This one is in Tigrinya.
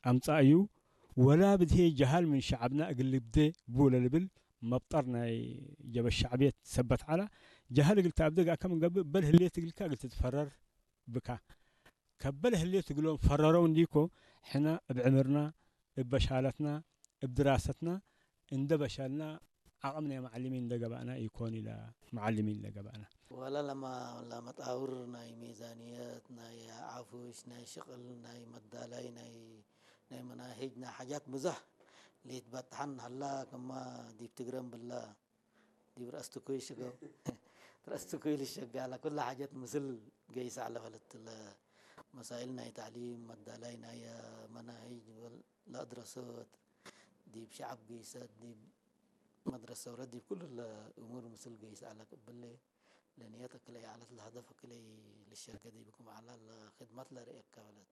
ኣምጻእ እዩ። ወላ ብድሄ ጀሃል ምን ሸዓብና እግል ልብዴ ብለ ልብል መብጠር ናይ ጀበ ሸዕብየት ሰበት ዓላ። ጀሃል እግል ተኣብደግ ኣከም እንገብእ በል ህሌት እግልካ እግል ትትፈረር ብካ። ከበል ህሌት እግሎም ፈረረው እንዲኮ ሕና እብ ዕምርና፣ እብ በሻለትና፣ እብ ድራሰትና እንደ በሸልና ዓቕም ናይ መዓልሚን እንደ ገባእና ኢኮን ኢለ መዓልሚን እንደ ገባእና። ወላ ለማ ለመጣውር ናይ ሚዛንየት፣ ናይ ዓፉሽ፣ ናይ ሽቕል፣ ናይ መዳላይ፣ ናይ ናይ መናሂጅ፣ ናይ ሓጃት ብዙሕ ሊትበጥሓን ሃላ ከማ ዲብ ትግረም ብላ ዲብ ረአስ ትኩይ ሽገው ረአስ ትኩይ ልሸጋላ ኩላ ሓጃት ምስል ገይሳ ዓለ ፈለት ለ መሳይል ናይ ታዕሊም መዳላይ ናይ መናሂጅ ለአድረሶት ዲብ ሸዓብ ገይሰት ዲብ መድረሰ ውረት ዲብ ኩሉ ለእሙር ምስል ገይስ ዓለ ቅብለ ለንየት እክለይ ዓለት ለሀደፍ እክለይ ልሸገ ዲብኩም ዓላ ለክድመት ለርእየካ በለት።